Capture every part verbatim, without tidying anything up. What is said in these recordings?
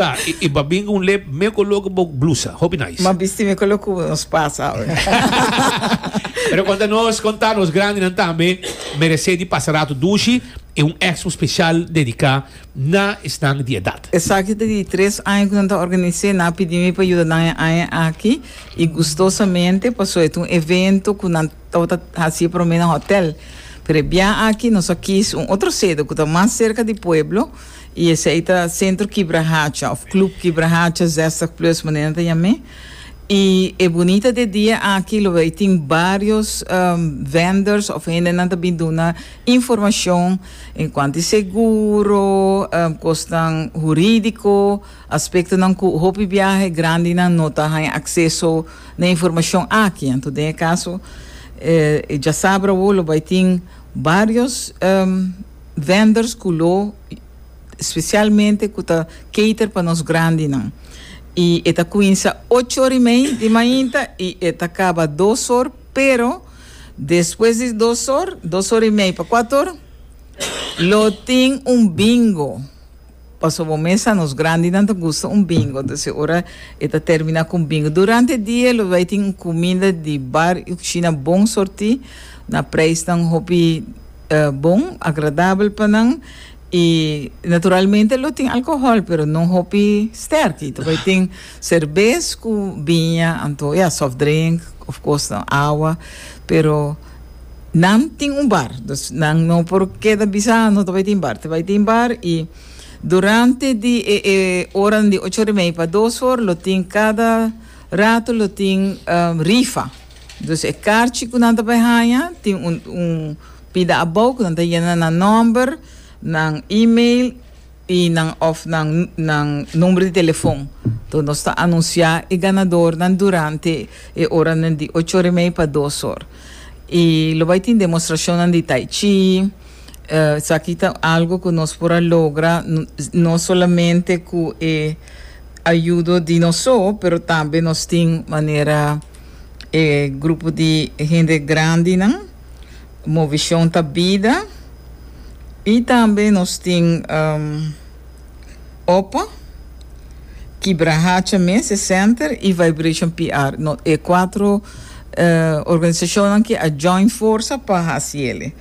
Ah, i, i b'a bin un lep me koló ku bo blusa. Hopi nice. Ma bisti mi koló ku nos pasa awe. Pero konta nos, konta nos grandinan tambe meresé di pasa rato dushi i un expo spesial dediká na esnan di edat. Esaki ta di tres aña ku nan ta organis'é. Nan a pidi mi pa yuda nan e aña aki i gustosamente, pasobra e ta un evento ku nan tabata hasi e promé na hòtèl. Pero e bia aki nos a kis un otro sede ku ta mas serka di pueblo. I esei ta Centro Kibrahacha of Club Kibrahacha zestig plus manera nan ta yam'é. I e bunita di e dia aki lo bay tin varios vendors of hendenan ta bin duna informacion en cuanto di seguro, cosnan huridico, aspectonan cu hopi biahe grandinan no ta haña acceso na e informacion aki. Anto den e caso e djasabra awo lo bay tin varios vendors cu lo specialmente cu ta cater pa nos grandinan. Y e ta cuminsa ocho or y mei di mainta y e ta caba dos or, pero despues di dos or, dos or y mei pa cuatro or, lo tin un bingo. Pasobra bo mes sa nos grandinan ta gusta un bingo, entonces e ora e ta termina cu un bingo. Durante e dia lo bay tin un cuminda di bar y cushina bon sorti na prijsnan hopi bon, agradabel pa nan y naturalmente lo tin alcohol pero no hopi sterki. Ta bay tin cerbes cu biña anto ya soft drink of cosnan awa pero nan tin un bar dus nan no por keda bisa no ta bay tin bar. Ta bay tin bar y durante di e e oranan di ocho ora y mei pa dos or lo tin cada rato lo tin rifa. Dus e karchi ku nan ta bai haña tin un un pida abou ku nan ta yena nan nòmber, nan email i nan òf nan nan number di telefon. Enton nos ta anunsiá e ganadornan durante e oranan di ocho ora i mei pa dos or. I lo bai tin demostrashonnan di tai chi. Esaki ta algu ku nos por a logra no solamente ku e ayudo di nos so, pero tambe nos tin manera e grupo di hende grandinan, Movishon ta Bida, i tambe nos tin Opa, Kibrahacha mes, e center, i Vibration P R. No, e cuatro organisacionnan ki a join forsa pa haci ele.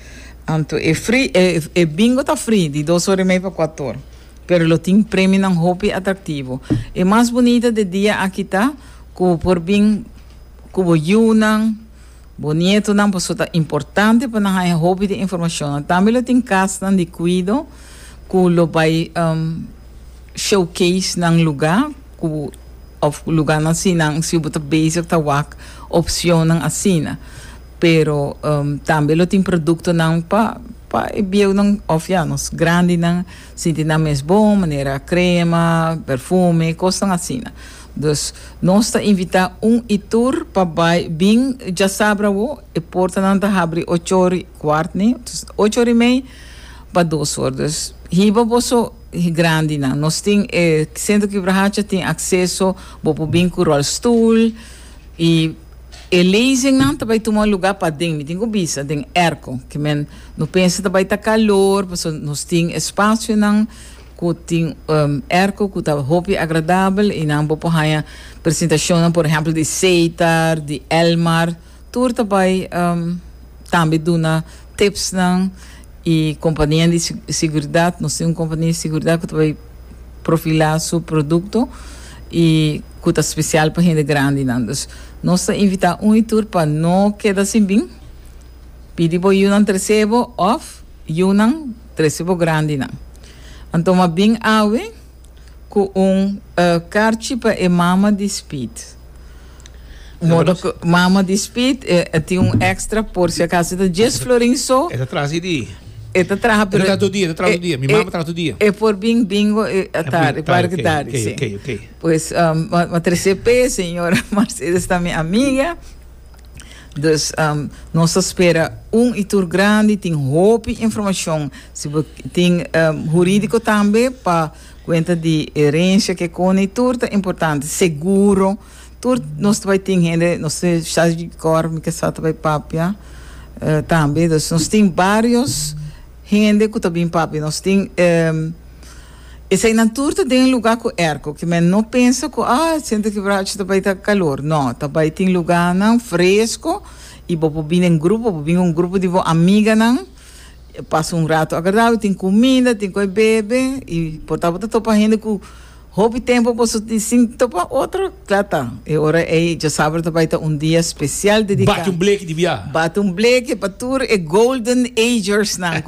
Anto e free, e, e bingo ta free, di dos ora i mei pa cuatro ora. Pero lo tin premionan hopi atractivo. E mas bunita de dia aki ta cu bo por bin cu bo yunan, bo nietonan, pasobra ta importante pa nan haña hopi di informacionnan. Tambe lo tin casnan di cuido cu lo bay showcase nan luga cu of luganan si nan si bo ta bezig ta wak opcionnan asina. Pero tambe lo tin productonan pa pa e bieunan of ya nos grandinan sinti nan mes bon manera crema, perfume, cosnan asina. Dus nos ta invita un y tur pa bay bin djasabra awo e portanan ta habri ocho or y cuart ni ocho or y mei pa dos or. Dus hiba boso grandinan. Nos tin e Centro Kibrahacha tin acceso bo por bin cu rolstoel y e lezingnan ta bai tuma luga paden, mi tin ku bisa, den airco. Ke men no pensa ta bai ta kalor, pasobra nos tin espasionan ku tin airco ku ta hopi agradabel i nan bo por haña presentashonnan por ehèmpel di Setar, di Elmar, tur ta bai tambe duna tipsnan i kompania di siguridat, nos tin un kompania di siguridat ku ta bai profilá su produkto i ku ta spesial pa hende grandinan. Dus nos ta invitá un i tur pa no keda sin bin. Pidi bo yunan trese bo òf yunan trese bo grandinan. Anto m'a bin awe ku un karchi pa e mama di Speed. Modo ku mama di Speed e tin un extra por si acaso. E ta djes florin so. E ta traha si di. E ta traha pero. E ta traha tur dia, e ta traha tur dia. Mi mama traha tur dia. E por bin bingo e atardi, parke tardi, si. Oké, oké, oké. Pues m'a trese p'e, señora Mercedes ta mi amiga. Dus nos ta spera un i tur grandi, tin hopi informashon. Si bo tin hurídiko tambe pa kuenta di herensia ke kone i tur ta importante. Seguro, tur nos ta bai tin hende, nos tin Shaji Kor mi ke sa ta bai papia tambe. Dus nos tin barios hende ku ta bin papia. Nos tin Eseinan tur ta den lugá ku airco, ke men no pensa ku ah, Centro Kibrahacha ta bai ta kalor. No, ta bai tin lugánan fresku i bo por bin den grupo, bo bin un grupo di bo amiganan, pasa un rato agradabel, tin kuminda, tin kos bebe i por ta bo ta topa hende ku hopi tempu boso tin sin topa otro, kla ta. E ora ei djasabra ta bai ta un dia spesial dediká. Bati un bleki di bia. Bati un bleki pa tur e golden agersnan.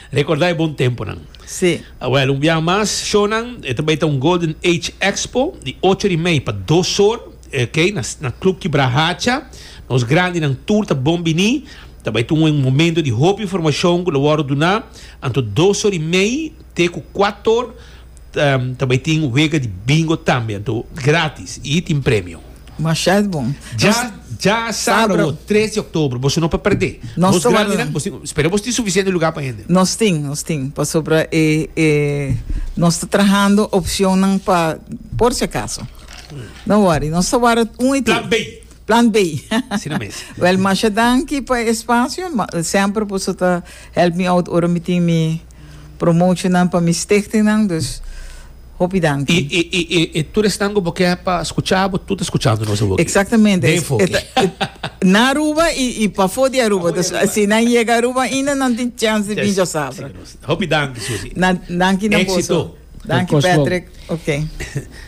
Rekordá e bon tempunan. Sí. Awel, un biaha mas, shownan, e ta bai ta un Golden Age Expo di ocho di mei pa dos or, ok, na, na Club Kibrahacha. Nos grandinan tur ta bon bini. Ta bai ta un momento di hopi informashon ku lo wòrdu duná. Anto dos or i mei te ku kuater or ta bai tin wega di bingo tambe, anto gratis i tin premio. Masha bon. Dja dja sabra awor, tres di oktober, boso no por perdé. Nos Nos ta grandi warda. nan, bos tin, spera bos tin sufisiente lugar pa hende. Nos tin, nos tin, pasobra e e nos ta trahando opcionnan pa por si acaso. No worry, nos ta warda un i tur. Plan B. Plan B. Asina mes. Wel, masha danki pa e espacio. Ma, semper boso ta help me out ora mi tin mi promotionnan pa mi stichtingnan, dus hopi danki. I, i, i, i, i tur esnan ku bo ke pa skucha bo, tur ta skuchando nos awor. Exactamente. Den enfoke. E ta, e, na Aruba i, i pafó di Aruba. Dus si nan yega Aruba ainda nan tin chance di bin djasabra. Hopi danki, Susi. Na, danki na boso. Éxito. Danki, Kos bon. Patrick. Ok.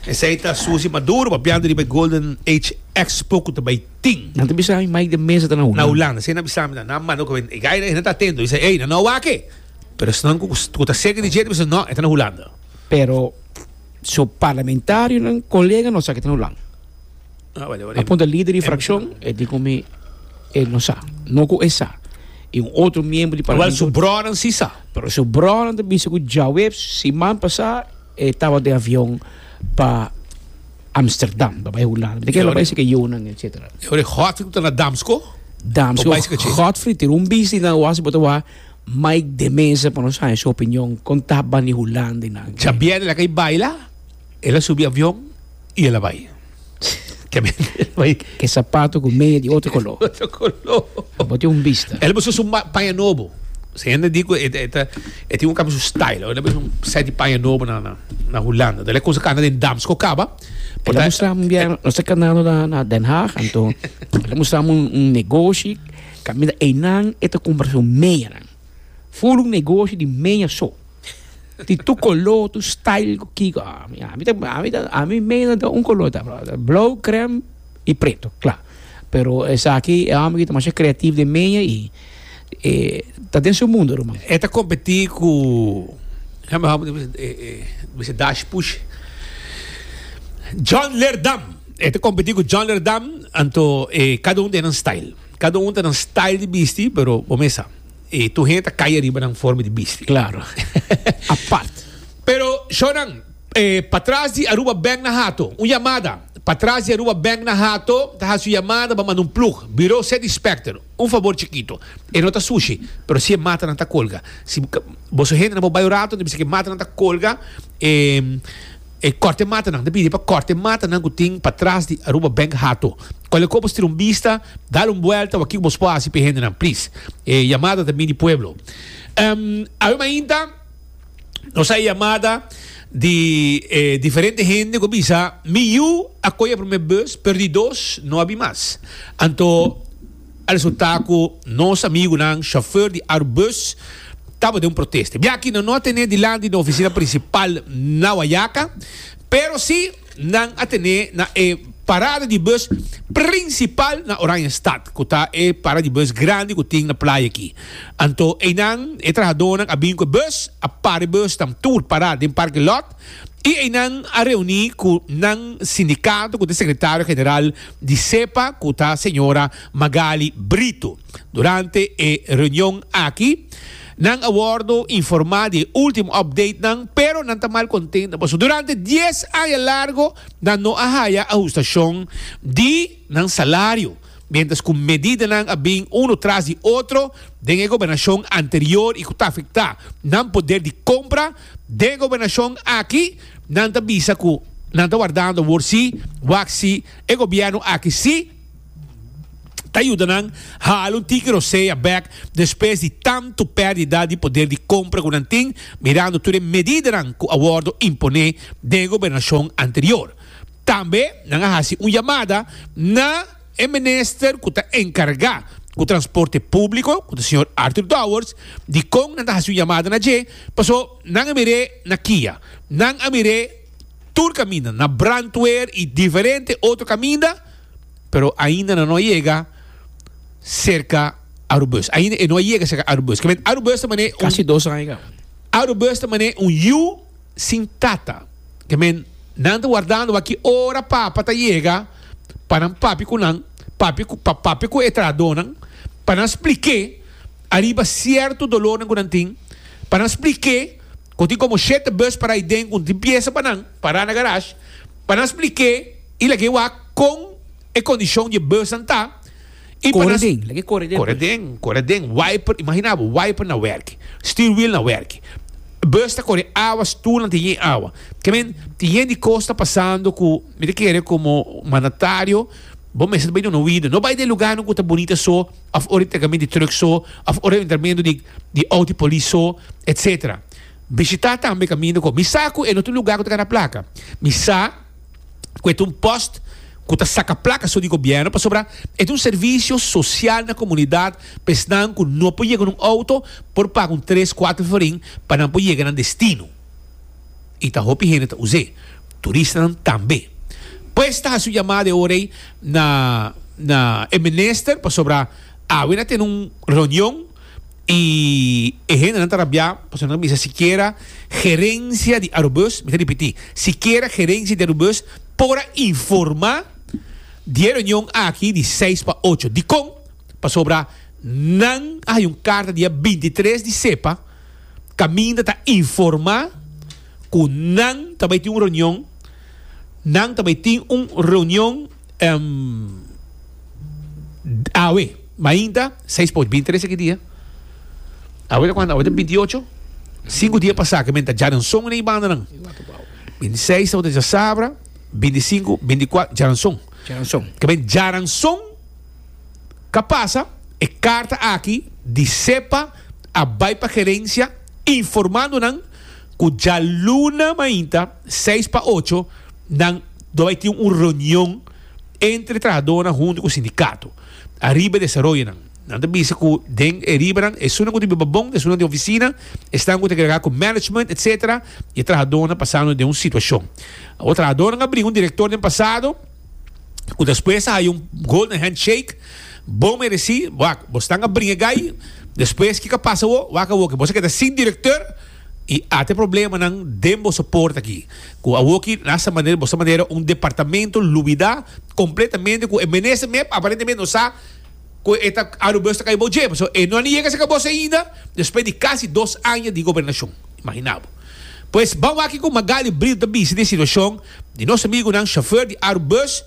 Esei ta Susi Maduro papiando riba e Golden Age Expo ku ta bai tin. Nan ta bisa mi Mike de Meza ta na Na Hulanda. Hulanda. Esei nan bisa mi, nan manda ku e gai nan ta atento. Bisa, ey, nan no wak e. Pero esnan ku ku ta serka di dje ta bisa, no, e ta na Hulanda. Pero su parlamentarionan, colega no sa ke ta na Hulanda. Ah, wale, wale. A punta lider di fraccion, e di ku mi e no sa. No ku e sa. I un otro miembro di Wel, parlamento. su bronan si sa. Pero su bronan ta bisa ku djaweps siman pasá e tabata den avion pa Amsterdam, pa bai Hulanda. Mi ta kere lo bai seke yunan, etcetera. E ora Godfrey ku ta na Damsko. Damsko, Bo bai seke che. Godfrey tira un bisti nan wasi bo ta wak Mike de Meza pa nos haña su opinion kon ta bani Hulanda i nan. Djabièrnè el a kai baila, el a subi avion i el a bai. Ke sapato ku media di otro koló. Otro koló. Bo tin un bista. El a buska su paña nobo. Si hende di ku e ta e tin un kambia su style. El a buska un set di paña nobo na na Hulanda. El a kuminsa kanda den Damsko kaba. El a mustra mi bia nos ta kandando na na Den Haag anto el a mustra mi un negoshi kaminda einan e ta kumpra su meanan. Ful un negoshi di mea so. Di tur koló, tur style ku kiko. Ami ami ta ami ta ami mea ta un koló ta blou, krèm i preto, kla. Pero esaki e hòmber aki ta masha kreativo den mea i e ta den su mundo ruman. E ta kompetí ku bisa dash push John Leerdam. E ta kompetí ku John Leerdam anto e kada un den nan style. Kada un ta nan style di bisti pero bo mesa. E tur hende ta kai ariba nan forma di bisti. Claro. Apart. Pero, shownan, eh, patras di Aruba Bank na Hato. Un yamada. Patras di Aruba Bank na Hato ta hasi un yamada pa manda un plug. Bureau City Inspector. Un fabor chikito. E no ta sushi, pero si e matanan ta colga. Si boso hendenan por bai un rato, ta bisa ku e matanan ta colga. E, E korte matanan, ta pidi pa korte matanan ku tin patras di Aruba Bank Hato. Kualke kos bos tira un bista, dal un buelta wak kiko bos por hasi pa e hendenan, please. E yamada ta bin di pueblo. Awe mainta nos a yamada di e diferente hende ku a bisa mi yu a kohe e prome bus pero di dos no a bin mas. Anto a resulta ku nos amigunan chauffeur di Arubus tabata den un protesta. Biaha nan no a tene dilanti na oficina principal na Wayaca, pero si nan a tene na e parada di bus principal na Oranjestad, cu ta e parada di bus grandi cu tin na playa aki. Anto eynan e trahadornan a bin cu e bus, a para e bus tan tur para den parking lot, y eynan a reuni cu nan sindicato cu ta e secretario general di SEPA cu ta señora Magali Brito. Durante e reunion aki nan a wordo informa di e ultimo updatenan, pero nan ta mal contento pasobra durante dies aña largo nan no a haya ahustacion di nan salario, mientras cu medidanan a bin uno tras di otro den e gobernacion anterior y cu ta afecta nan poder di compra. Den e gobernacion aki nan ta bisa cu nan ta wardando awor si wak si e gobierno aki si Ta yuda nan hala un tiki rosea bek despues di tanto perdida di poder di compra cu nan tin, mirando tur e medidanan cu a wordo impone den e gobernacion anterior. Tambe nan a haci un yamada na e minister cu ta encarga cu transporte publico, cu ta señor Arthur Dowers. Dicon nan ta haci un yamada na dje? Paso nan a mire na Kia, nan a mire tur caminda, na brandweer y diferente otro caminda, pero ainda nan no a yega cerca Arubus. Ainda e no a yega cerca Arubus. Ke men Arubus ta mane un Casi dos aña caba. Arubus ta mane un yu sin tata. Ke men nan ta wardando aki ora papa ta yega pa nan papia cu nan, papia cu, pa papia cu e trahadornan, pa nan spliké ariba cierto dolornan cu nan tin, pa nan spliké cu tin como shete bus para ahi den cu tin pieza pa nan, para na garage, pa nan spliké y lag'é wak con e condicion di e busnan ta. Y pa Core nan den, lag'é core den Core pues. den, core den, wiper, imagina bo, wiper na werk, steer wheel na werk. Bus ta kore awa, stoelnan tin yen awa. Ke men, tin yen di kos ta pasando ku mi ta kere komo mandatario bo mester ta bai duna oido. No bai den lugarnan ku ta bunita so, òf ora entregamentu di truck so, òf ora entregamentu di di outo di polis so, etcetera. Bishitá tambe kaminda ku mi sa ku e no ta un lugar ku ta gana plaka. Mi sa ku e ta un post ku ta saka plaka so di gobièrnu pasobra e ta un servisio sosial na komunidat pa esnan ku no por yega na un outo por paga un tres kuater florin pa nan por yega nan destino. I ta hopi hende ta us'é, turistanan tambe. Pues ta hasi un yamada e ora ei na na e minister pasobra awe nan a tene un reunion i e hendenan ta rabiá pasobra nan a bisa sikiera gerensia di Arubus, mi ta ripití, sikiera gerensia di Arubus por a informá di e reunion aki di seis pa ocho. Dikon? Pasobra nan a haña un karta dia binti tres di sepa kaminda ta informá ku nan ta bai tin un reunion, nan ta bai tin un reunion awe mainta seis pa ocho. Binti tres aki dia? Awe ta kuantu? Awe ta binti ocho? Sinku dia pasá ke men ta djaranson na e bandanan. Binti seis tabata djasabra. Binti sinku, binti kuater, djaranson. Djaranson. Ke ben djaranson ka pasa, e karta aki di SEPA a bai pa gerensia informando nan ku djaluna mainta seis pa ocho nan lo bai tin un reunion entre trahadornan huntu ku sindikato ariba e desaroyonan. Nan ta bisa ku den e ribanan esunnan ku ta biba bon, esunnan den ofisina, esnan ku ta enkargá ku management etcetera i e trahadornan pasando den un situashon. Awor trahadornan a bringa un direktor den pasado ku despues a haya un golden handshake bon meresí. Wak, bosnan a bringa e gai, despues kiko a pasa awor? Wak awor ke bos a keda sin direktor i ata e problemanan den boso porta aki. Ku awor ki na esta manera bos ta manera un departamento lubidá kompletamente ku e minister mep aparentemente no sa ku e ta Arubus ta kai bou dje, pasobra e no a ni yega serka bos ainda despues di kasi dos aña di gobernashon. Imagina bo. Pues ban wak kiko Magali Brito ta bisa di e situashon di nos amigunan shofèr di Arubus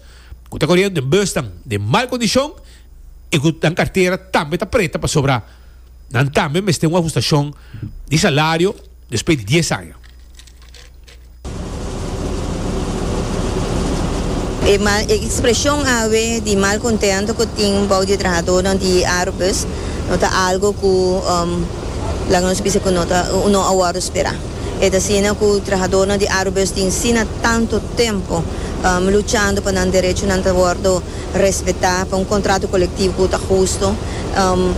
ku ta koriendo den busnan den mal kondishon i ku nan kartera tambe ta preta pasobra nan tambe mester un ahustashon di salario despues di dies aña. E mal e expresion awe di malcontento cu tin bou di e trahadornan di Arubus no ta algo cu laga nos bisa cu no ta no a wordo spera. E ta asina cu trahadornan di Arubus tin sina tanto tempo luchando pa nan derechonan ta wordo respeta, pa un contrato colectivo cu ta husto.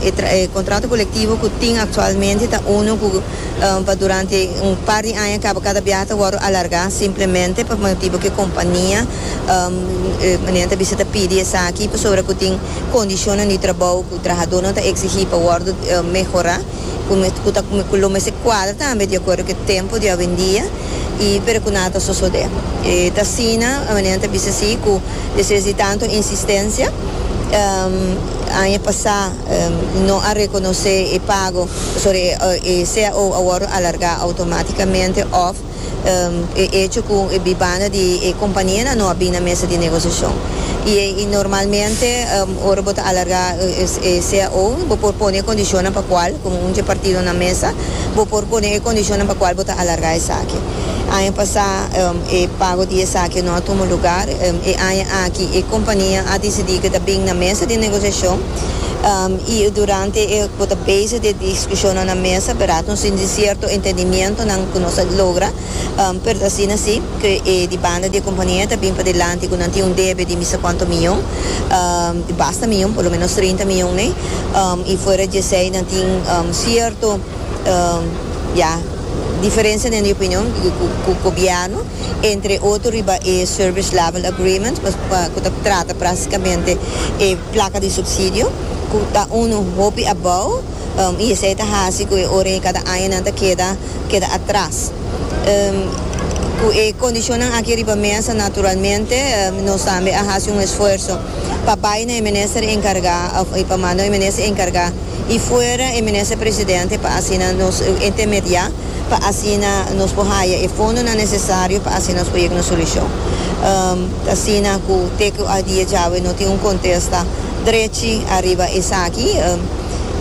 E contrato colectivo cu tin actualmente ta uno cu pa durante un par di aña caba cada biaha ta wordo alarga simplemente pa motibo cu e compania manera ta bisa ta pidi esaki pasobra cu tin condicionnan di trabou cu trahadornan ta exigi pa wordo mehora cu ta cu lo mester cuadra tambe di acuerdo cu e tempo di awendia y pero cu nada ta sosode. E ta asina manera ta bisa si cu despues di tanto insistencia aña pasá no a rekonosé e pago pasobra e C A O a wòrdu alargá outomátikamente òf e echo ku e bibanda di e kompanianan no a bin na mesa di negosiashon. I normalmente ora bo ta alargá e C A O bo por pone e kondishonnan pa kual, komo un dje partido na mesa, bo por pone e kondishonnan pa kual bo ta alargá esaki. Aña pasa um, e pago di esaki no a tuma luga. Um, e aña aki e compania a dicidi cu ta bin na mesa di negociacion um, y durante e ta base di discusion na mesa, pero nos tin cierto entendimento nan cu nos a logra, um, pero asina si, cu e di banda di compania ta bin padilanti cu nan tin un debe di mi sa cuanto miyon, um, basta miyon, por lo menos trinta miyon, ne? Um, y fuera di esey nan tin um, cierto um, ja, diferencia den opinion cu e gobierno, entre otro riba e Service Level Agreement, cu ta trata practicamente e placa di subsidio, cu ta uno hopi abou, um, y esey ta hasi cu ora cada aña nan ta keda keda atras. Um, cu e condicion aki riba mesa, naturalmente, um, nos tambe a haci un esfuerso pa bay na minister encarga, of pa manda e minister encarga y fuera e minister presidente pa asina nos intermedia, pa asina nos por haya e fondo necesario pa asina nos por yega na solucion. Um, asina cu te cu e dia djawe no tin un contesta drechi ariba esaki um,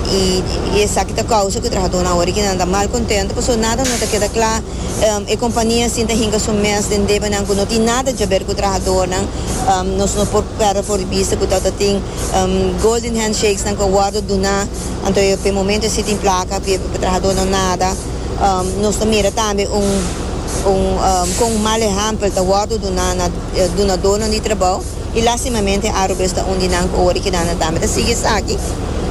y, y esaki ta causa cu e trahado awor cu ta mal contento, pasobra nada no ta keda cla. um, e compania asina ta hinca su mes den debe nan no tin nada di haber cu e trahado nan. um, nos no por perde for di bista cu tin um, golden handshakes nan cu a wordo duna, anto pa momento si tin placa, pa e trahado no nada. um, nos mira tambe un un um, cu un mal ehempel ta wordo duna na dunado di trabou y lastimamente Arubus ta un di nan ora cu nan tambe ta sigui aki.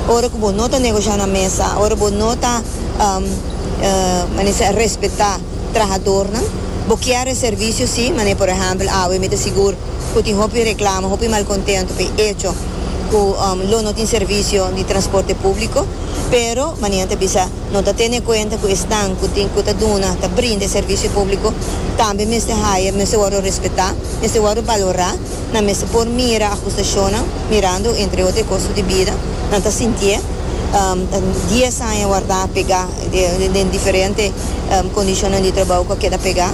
Ora cu bo no ta negocia na mesa, ora bo no ta um, uh, respeta trahado nan, bo kier servicio si, mas por ehempel, awe mi ta sigur cu tin hopi reclamo, hopi malcontento pa hecho cu um, lo no tin servicio di transporte publico, pero manera bisa no ta tene cuenta cu esnan cu tin cu ta duna, ta brinda servicio publico, tambe mester haya, mester wordo respeta, mester wordo valora, nan mester por mira ahustacion, mirando entre otro costo di bida, nan ta sinti um, dies aña warda pega den diferente um, condicion di trabou cu keda pega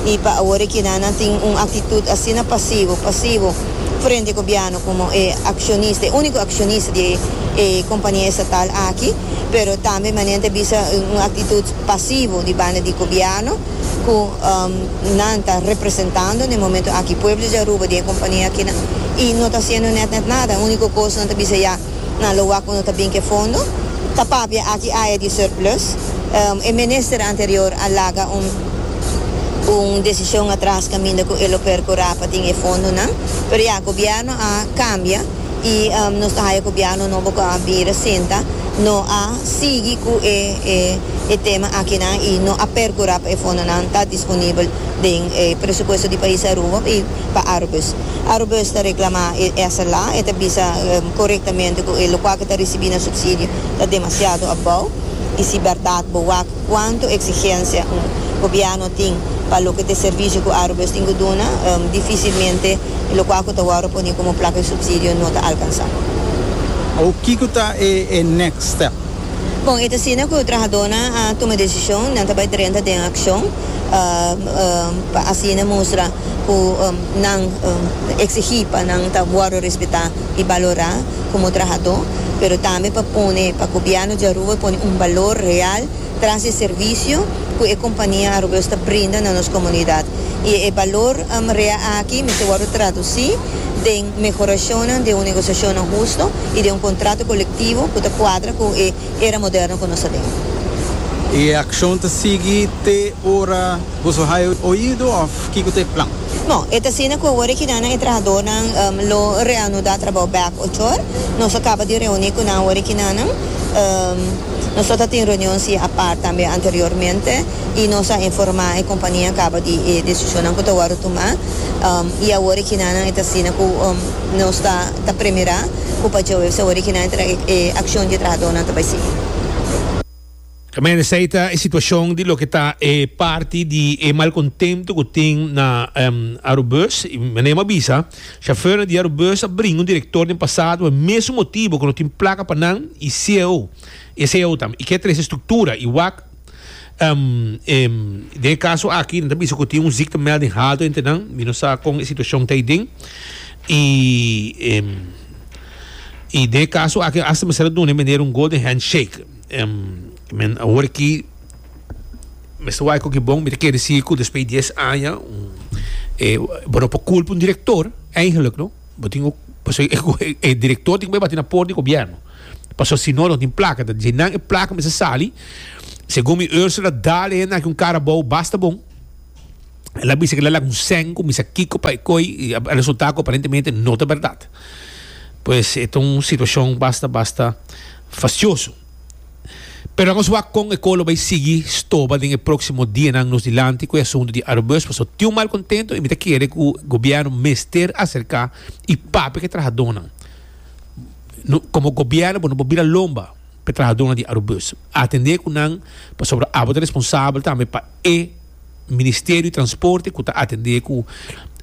y pa awor cu nan tin un actitud asina pasivo, pasivo frente na gobierno como eh, accionista, unico accionista di eh, compania estatal aki, pero tambe manera bisa un actitud pasivo di banda di gobierno cu um, nan ta representando na e momento aki pueblo di Aruba di compania aki y no ta haciendo net net nada. Unico cos nan ta bisa ya na lo no ta bin cu fondo, ta papia aki aya di surplus. um, e minister anterior a laga un un decision atras caminda cu el a percura pa tin e fondo nan, pero ya gobierno a cambia y um, nos ta gobierno nobo cu a bira sinta no a sigui cu e, e, e tema aki nan y no a percura pa e fondo nan ta disponibel den eh, presupuesto di pais Aruba y pa Arubus. Arubus ta reclama esey y ta bisa um, corectamente cu e loke ta recibiendo subsidio ta demasiado abou y si berdad bo wak cuanto exigencia un gobierno tin pa loke ta servicio cu Arubus tin duna, um, dificilmente loke ta wordo poni como placa di subsidio no ta alcansa. Kico ta e, e next step? Bon, e asina cu e trahado nan a tuma decision, nan ta bay drenta den accion, uh, uh, pa asina mustra cu um, nan um, exigi pa nan ta wordo respeta y valora como trahado, pero tambe pa pone pa gobierno di Aruba pone un balor real tras di servicio cu e compania Arubus ta brinda na nos comunidad. Y e balor um, real aki mester wordo traduci den mehoracion di un negociacion husto y di un contrato colectivo cu ta cuadra cu e era moderno cu nos tin. E accion ta sigui te ora bo haya oido of kico ta e plan? No, e asina cu awor cu nan e trahado nan um, lo reanuda trabou back ocho or. Nos a caba di reuni cu nan awor cu nan um, nos tabatin reunion si apart tambe anteriormente y nos a informa e compania caba di e decision cu ta wordo tuma um, y awor cu nan ta asina cu um, nos ta ta premira cu pa awor cu nan e accion di trahado nan ta bay sigui. Tambe esey ta e situacion di loke ta e parti di e malcontento cu tin na um, Arubus, y manera m'a bisa, chauffeur di Arubus a bringa un director den pasado, e mesun motibo cu no tin placa pa nan y C E O, e C E O tambe, y kier trece structura y wak um, um, den caso aki, nan bisa cu tin un ziektemelding halto entre nan, mi no sa con e situacion ta den y um, y den caso aki hasta mester duna meneer un golden handshake. um, men awor aki Mester wak ku bon, mi ta kere si ku despues di dies aña, un, eh, bueno, por culpa un director, eigenlijk, no? Bo tin pues, e, e director tin ku bati na porta di gobièrnu. Paso si no, no tin plaka, di nan e plaka mester sali. Segun mi, Ursula dale na un cara bom, basta bom. El a bisa ku el a un sèn, misa kiko pa koi, i e resultado aparentemente no ta berdat. Pues ta un situashon basta, basta fastioso. Pero nos wak kon e kos lo bai sigui stoba den e próksimo dianan nos dilanti ku e asuntu di Arubus, paso tin un malkontentu i mi ta kere ku gobièrnu mester aserká i papia ku e trahadónan. No, komo gobièrnu, bo no por bira lomba pa trahadónan di Arubus. Atendé ku nan, pasobra abo ta responsabel tambe pa e Ministerio di Transporte ku ta atendé ku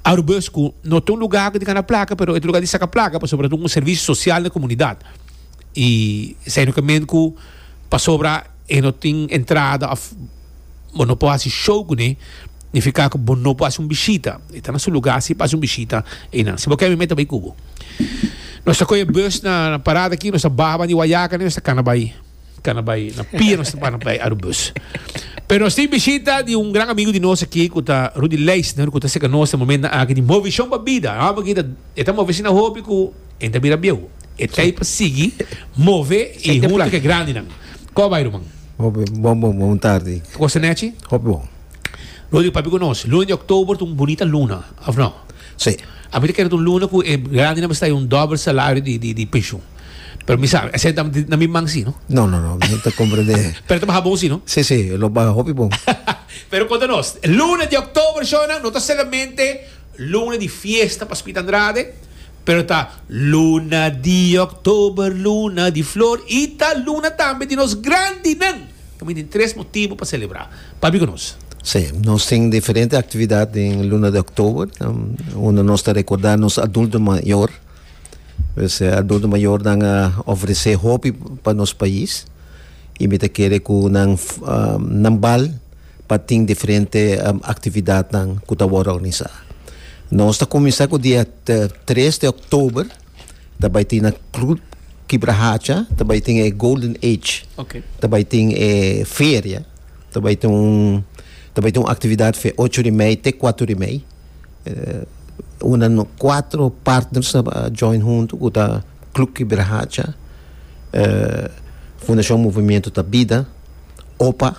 Arubus, ku no ta un lugá di gana plaka, pero e lugá di saka plaka, pasobra un servisio sosial na komunidat. I sendo ku pasobra e no tin entrada òf bo no por hasi show kuné, nifiká ku bo no por hasi un bishita. Ta na su lugá si hasi un bishita i no. Si bo ke, mi meta bai ku bo. Nos ta kohe bus na, na parada aki, nos ta baha di Wayaca, nos ta kana bai, kana bai, na pia nos ta kana bai Arubus. Pero nos tin bishita di un gran amigu di nos aki, ku ta Rudy Leisner, ku ta serka nos na e momento aki di Movishon pa Bida. Ah, porque e ta move asina hopi ku e ta bira bieu. E ta pa sigui move i huntu ku grandinan. Kon bai, ruman? Hopi, bon, bon, bon tardi. Kos nechi? Hopi bon. Rudy, papia ku nos. Luna di òktober, un bunita luna, òf no? Si. Ami ta kere un luna ku e grandinan ta un dòbel salario di, di, di penshun. Pero mi sabe, esei ta na mi man si, no? No, no, no, no ta komprondé. Pero ta bon si, no? Si, si, lo bai hopi bon. Pero konta nos, luna di òktober, shonnan, no ta solamente luna di fiesta pa Speed Andrade, pero ta luna di òktober, luna di flor, i ta luna tambe di nos grandinan. Tambe tin tres motibu pa selebrá. Papia ku nos. Si, nos tin diferente aktividat den luna di òktober. Um, unda nos ta rekordá nos adulto mayó. Pues, eh, adulto mayornan a ofresé hopi pa nos pais. I mi ta kere ku nan, um, nan bal pa tin diferente um, aktividatnan ku ta organisá. Nos ta kuminsá ku dia tres di òktober, tambe tin na Club Kibrahacha, tambe tin e Golden Age. Ok. Tambe tin e feria, tambe tin un tambe tin un aktividat for di ocho i mei te kuater i mei. Uh, unda no, kuater partners uh, join huntu, ku ta Club Kibrahacha, uh, Fundashon Movimiento da Vida, O P A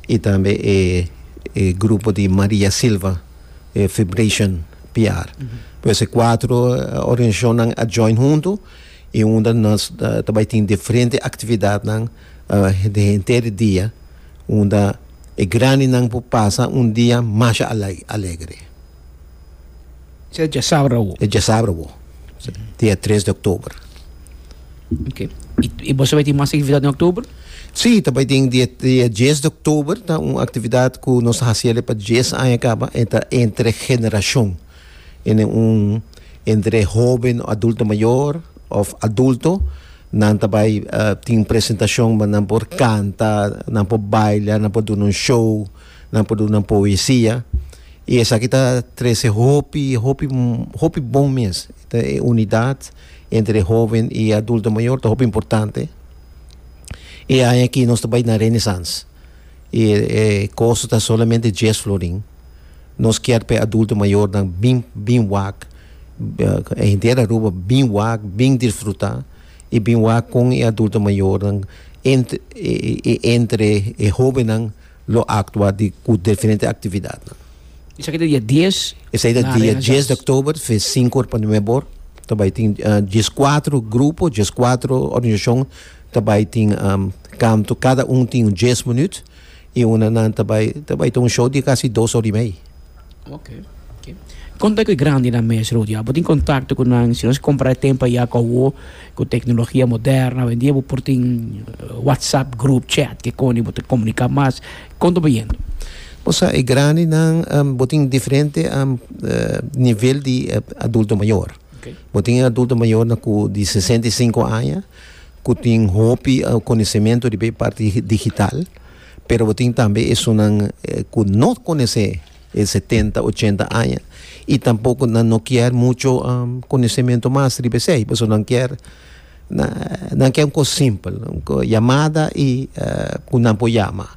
i tambe e, e grupo di Maria Silva, e Vibration P R. Pues e kuater uh, organisashon a join huntu i unda nos uh, tambe tin diferente aktividatnan uh, di henter dia, unda e grandinan por pasa un dia mas alegre. Esei djasabra. E djasabra, dia tres di òktober. Ok. I, i bo tin mas aktividat na òktober? Si, tambe tin dia, dia dies di òktober, ta un aktividat ku nos ta hasi pa dies aña kaba, entre, entre generashon. En un, entre hóben, adulto mayó, òf adulto, nan tambe uh, tin presentashon, nan por kanta, nan por baila, nan por duna un show, nan por duna poesia. I esaki ta trese hopi, hopi, hopi bon mes. E unidat entre hóben i adulto mayó ta hopi importante. I aki nos tambe na Renaissance. I e kosto ta solamente dies florin. Nos ke pa adulto mayornan bin bin wak, henter Aruba bin wak, bin disfrutá i bin wak ku e adulto mayornan entre entre e hóbennan lo aktua di ku diferente aktividat. Esaki ta dia dies? Esaki ta dia dies di òktober, sinku or pa nuebe or. Tambe tin uh, dieskuater grupo, dieskuater organisashon, tambe tin um, kanto, kada un tin dies minüt i un nan tambe tambe tin un show di kasi dos or i mei. Ok. ok. Konta ku grandinan mes, Rudy. Bo tin kontakto ku nan, si nos kompará tempu ya ku ku teknologia moderno, hoi en dia por tin WhatsApp group chat ku kon bo komuniká mas. Kon ta bayendo? Osea, e grandinan um, bo tin diferente um, uh, nivel di uh, adulto mayó. Okay. Bo tin adulto mayó na ku di sesenta i sinku aña, ku tin hopi uh, konosementu di parti digital, pero bo tin tambe esunnan eh, ku no konosé e setenta, ochenta aña i tampoko nan no ke muchu um, konosementu mas di esei, pasobra nan ke nan ke un kos simpel, un yamada i uh, ku nan por yama.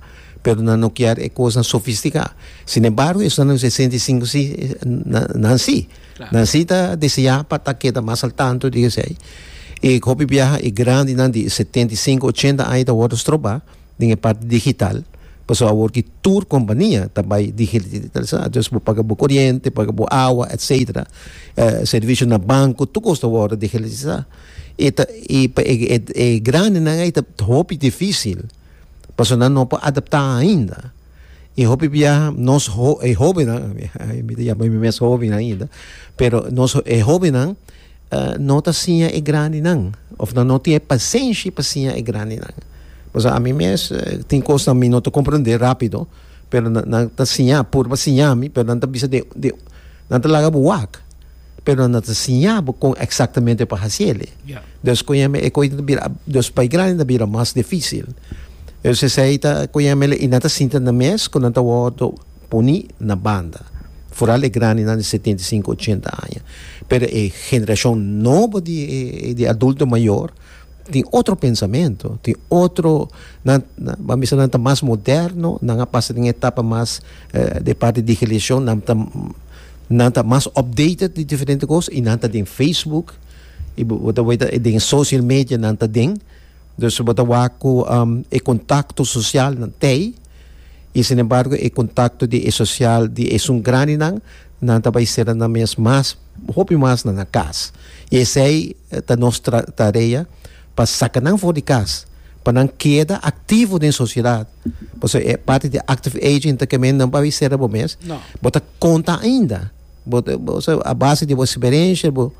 Pero nan no kier e cos sofistica. Sin embargo, esnan sesenta i sinku si, nan si. Nan si ta desea pa ta keda mas al tanto di esey. E hopi biaha e grandi nan di setenta i sinku, ochenta aña ta wordo stroba den parti digital. Paso awor cu tur compania tambe digitaliza. Dus bo paga bo coriente, paga bo awa, et cetera. Uh, servicio na banco, tur cos ta wordo digitaliza. E, ta, e, e, e, e grandi nan ta hopi dificil. Paso nan no por adapta ainda. E hopi biaha nos ho, e hobennan, mi ta yama mi mes hoben ainda, pero nos e hobennan uh, no ta siña e grandinan, of nan no tin pasenshi pa siña e grandinan. Pues ami mes tin cos mi no ta comprende rapido, pero nan ta siña, purba siña mi, pero nan ta bisa di, di nan ta laga bo wak. Pero nan ta siña bo con exactamente pa haci'e. Yeah. Dus con e cos bira, dus pa grandi ta bira mas dificil. Dus esey ta con e nan ta sinta na mes cu nan ta wordo poni na banda. Vooral e grandi nan setenta i sinku, ochenta aña. Pero e generacion nobo di, di adulto mayor tin otro pensamento, tin otro, nan, nan, ban bisa nan ta mas moderno, nan a pasa den etapa mas eh, di parti di digitalisacion, nan ta nan ta mas updated di diferente cos y nan ta den Facebook y bo ta weta den social media nan ta den. Dus bo ta wak cu um, e contacto social nan tey y, sin embargo, e contacto di e social di esun grandi nan nan ta bay ser na mes mas hopi mas na na cas. Y esey ta nos tarea pa saca nan for di cas, pa nan keda activo den sociedad. Paso e parti di active aging ta cu nan bay ser bo mes. No. Bo ta conta ainda. Bo ta, bo, a base di bo experiencia, bo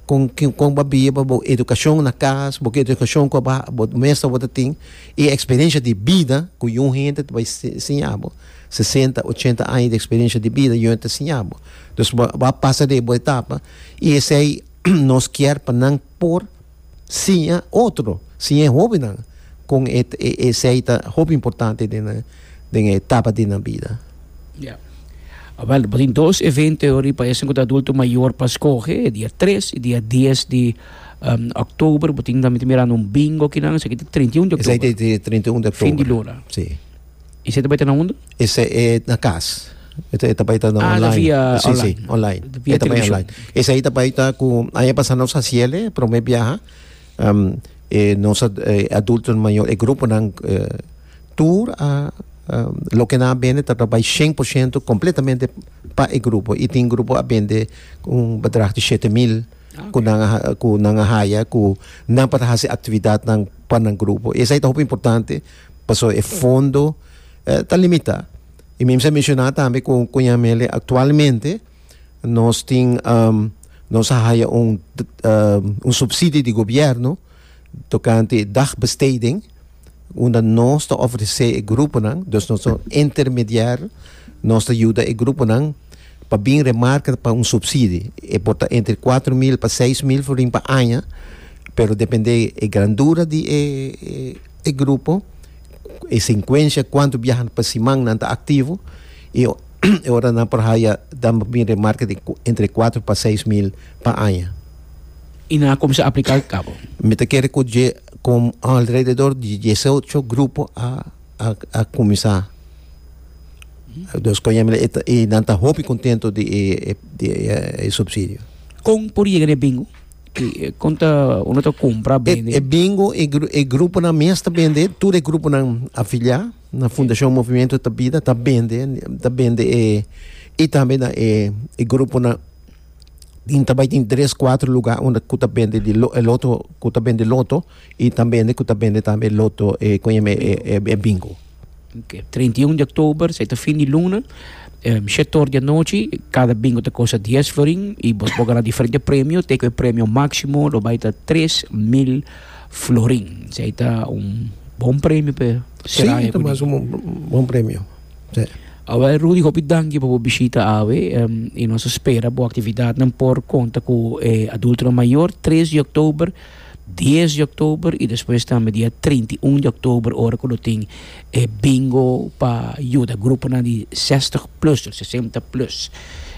con con bo biba, bo educacion na cas, bo educacion cu bo bo mes bo tin y experiencia di bida cu un hende bay siña bo. sesenta, ochenta aña di experiencia di bida y ta siña bo. Dus bo a pasa di bo etapa y esey nos kier pa nan por siña otro, siña hobennan cu esey ta hopi importante den den etapa di na bida. Ja. Ah, wel, we tin dos evento pa esun adulto mayor pa scoge, dia tres y dia dies di um, october, bo tin tambe mirando un bingo aki nan, esaki ta trinta i un di Esey october. Ta trinta i un di october. Fin di luna. Si. Y esey tambe ta na unda? Esey ta na cas. Esey tambe ta na Ah, online. via Si, online. Si, online. Via E tambe television. online. Esey tambe ta cu aña pasa nos a haci'e, prome biaha. Um, eh, nos eh, adulto mayor, e grupo nan eh, tur a um, loke nan a bende ta bay cien por ciento completamente pa e grupo y tin grupo a bende un bedrag di shete mil Ah, cu nan cu nan a haya cu nan pa haci actividad nan pa nan grupo. Esey ta hopi importante, paso e fondo eh, ta limita. Y mi a menciona tambe cu cu Yamele actualmente nos tin um, nos a haya un um, un subsidio di gobierno tocante dagbesteding, unda nos ta ofrece e gruponan, dus nos ta intermediario, nos ta yuda e gruponan pa bin remarca pa un subsidio. E por ta entre kuater mil pa seis mil florin pa aña, pero depende e grandura di e, e, e grupo, e secuencia cuanto biaha pa siman nan ta activo y e ora nan por haya dan bin remarca di entre kuater pa seis mil pa aña. Y nan a cuminsa aplica caba? Mi ta kere cu cu alrededor di diesocho grupo a a, a cuminsa. Dus cu y nan ta hopi contento di e, di e, e subsidio. Con por yega na bingo? Cu, con ta unda ta cumpra E, bende? e bingo e, gru, e grupo nan mes ta bende, tur e grupo nan afilia na Fundacion Movimento ta Bida ta bende, ta bende e y tambe na e, e grupo nan tin tambe tin tres, cuater luga unda cu ta bende di lo, e loto, cu ta bende loto y tambe cu ta bende tambe loto e cu e, e, e bingo. Ok, trinta i un di october, esey ta fin di luna, um, shete or di anochi, cada bingo ta costa dies florin y bo por gana diferente premio, te cu e premio maximo lo bay ta tres mil florin. Esey ta un bon premio pa Si, ta mas un bon premio. Si. Awe Rudy, hopi danki pa bo bishita awe um, y nos ta spera bo actividad nan por conta cu eh, adulto mayor tres di october, dies di october y despues tambe dia trinta i un di october, ora cu tin eh, bingo pa yuda grupo nan di sesenta plus, sesenta plus.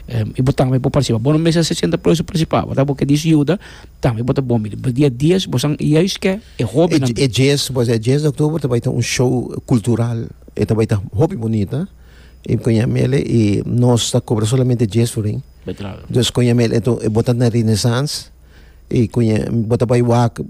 Um, y bo tambe por participa. Bo no mester sesenta plus pa participa, ta bo kier yuda, tambe bo ta bon. Dia dies, bo san juist cu e hoben E, e dies, pois e dies di october tambe tin un show cultural. E ta bai ta hopi bunita. Y coñamele y nos ta cobra solamente dies florin. Dus coñamele, anto bo ta na Renaissance y coña bo ta bai wak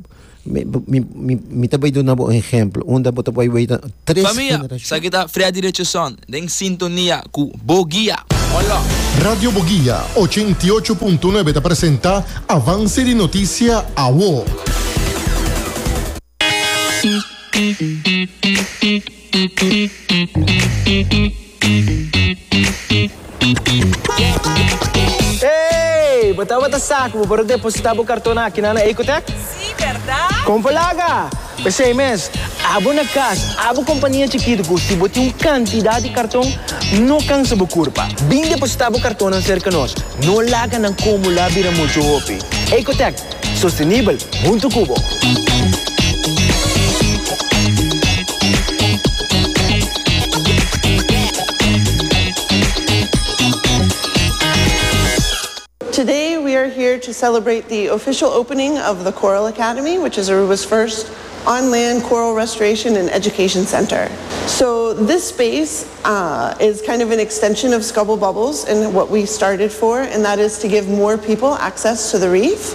mi mi mi mi ta bai duna bo un ehemplo unda bo ta bai weta tres Famia, generacion. Esaki ta Freddy Richardson den sintonia ku Boguia. Hola. Radio Boguia ochenta i ocho punto nuebe ta presenta Avance di Noticia Awo. Hey, bo tabata sa ku bo por depositá bo karton aki na Ecotech? Sí, bèrdat? Kon palaga! P'esei mes, abo na kas, abo kompania chikitu ku si bo tin un kantidat di karton, no kansa bo kurpa. Bin depositá bo kartonnan serka nos. No laga nan akumulá bira muchu hopi. Ecotech, sostenibel huntu ku bo. Today we are here to celebrate the official opening of the Coral Academy, which is Aruba's first on-land coral restoration and education center. So this space, uh, is kind of an extension of Scubble Bubbles and what we started for, and that is to give more people access to the reef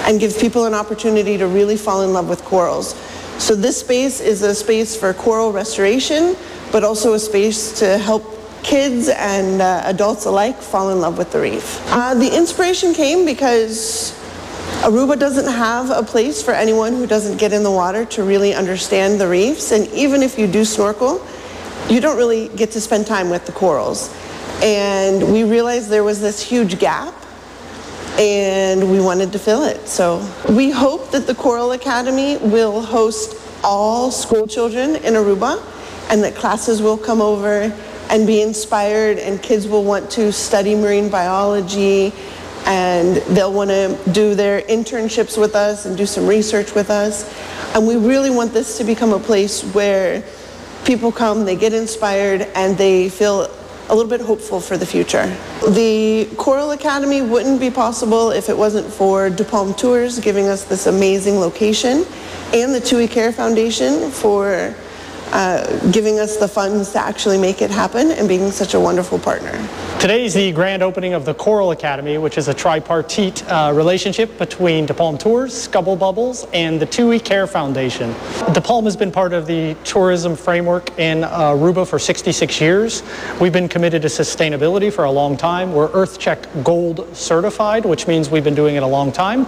and give people an opportunity to really fall in love with corals. So this space is a space for coral restoration, but also a space to help kids and, uh, adults alike fall in love with the reef. Uh, the inspiration came because Aruba doesn't have a place for anyone who doesn't get in the water to really understand the reefs, and even if you do snorkel, you don't really get to spend time with the corals. And we realized there was this huge gap, and we wanted to fill it. So we hope that the Coral Academy will host all school children in Aruba, and that classes will come over and be inspired, and kids will want to study marine biology, and they'll want to do their internships with us and do some research with us. And we really want this to become a place where people come, they get inspired, and they feel a little bit hopeful for the future. The Coral Academy wouldn't be possible if it wasn't for De Palm Tours giving us this amazing location, and the Tui Care Foundation for, uh, giving us the funds to actually make it happen and being such a wonderful partner. Today is the grand opening of the Coral Academy, which is a tripartite, uh, relationship between De Palm Tours, Scubble Bubbles, and the Tui Care Foundation. De Palm has been part of the tourism framework in Aruba for sixty-six years. We've been committed to sustainability for a long time. We're EarthCheck Gold certified, which means we've been doing it a long time.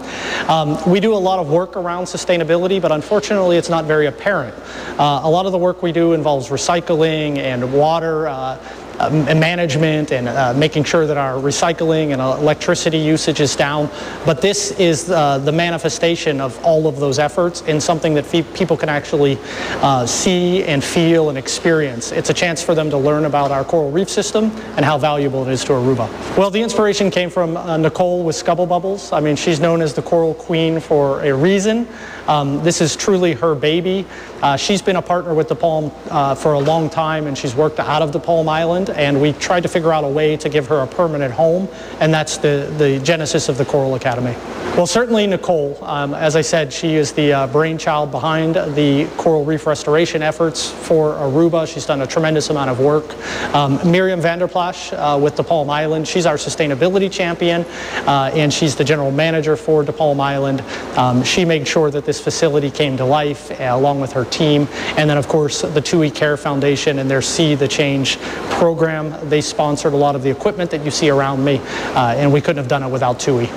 Um, we do a lot of work around sustainability, but unfortunately it's not very apparent. Uh, a lot of the work we do involves recycling and water, uh, uh, management and, uh, making sure that our recycling and electricity usage is down. But this is, uh, the manifestation of all of those efforts in something that fe- people can actually, uh, see and feel and experience. It's a chance for them to learn about our coral reef system and how valuable it is to Aruba. Well, the inspiration came from, uh, Nicole with Scubble Bubbles. I mean, she's known as the Coral Queen for a reason. Um, this is truly her baby. Uh, she's been a partner with De Palm, uh, for a long time, and she's worked out of De Palm Island, and we tried to figure out a way to give her a permanent home, and that's the, the genesis of the Coral Academy. Well, certainly Nicole, um, as I said, she is the, uh, brainchild behind the coral reef restoration efforts for Aruba. She's done a tremendous amount of work. Um, Miriam Vanderplash, uh, with De Palm Island, she's our sustainability champion, uh, and she's the general manager for De Palm Island. Um, she made sure that this facility came to life, uh, along with her team. And then, of course, the Tui Care Foundation and their See the Change program. They sponsored a lot of the equipment that you see around me, uh, and we couldn't have done it without Tui.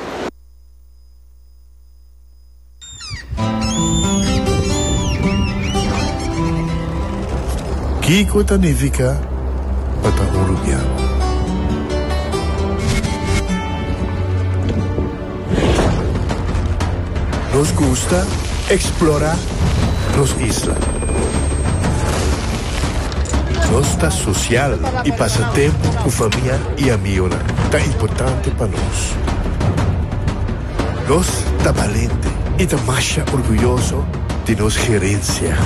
Kiko ta nifica pa ta un Rubiano? Nos gusta explora nos isla. Nos ta social y pasa tempo cu famia y amigonan. Ta importante pa nos. Nos ta valiente y ta masha orguyoso di nos herencia.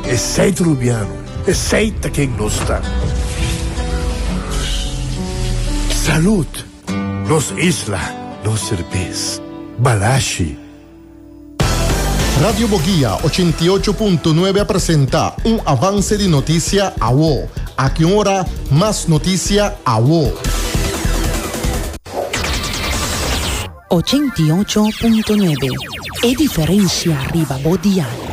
Esey ta Rubiano, esey ta ken nos ta. Salud, nos isla, nos cerbes. Balashi. Radio Boguia ochenta i ocho punto nuebe a presenta un avance di noticia awo. Aki un ora, mas noticia awo. ochenta i ocho punto nuebe. E diferencia riba bo dial.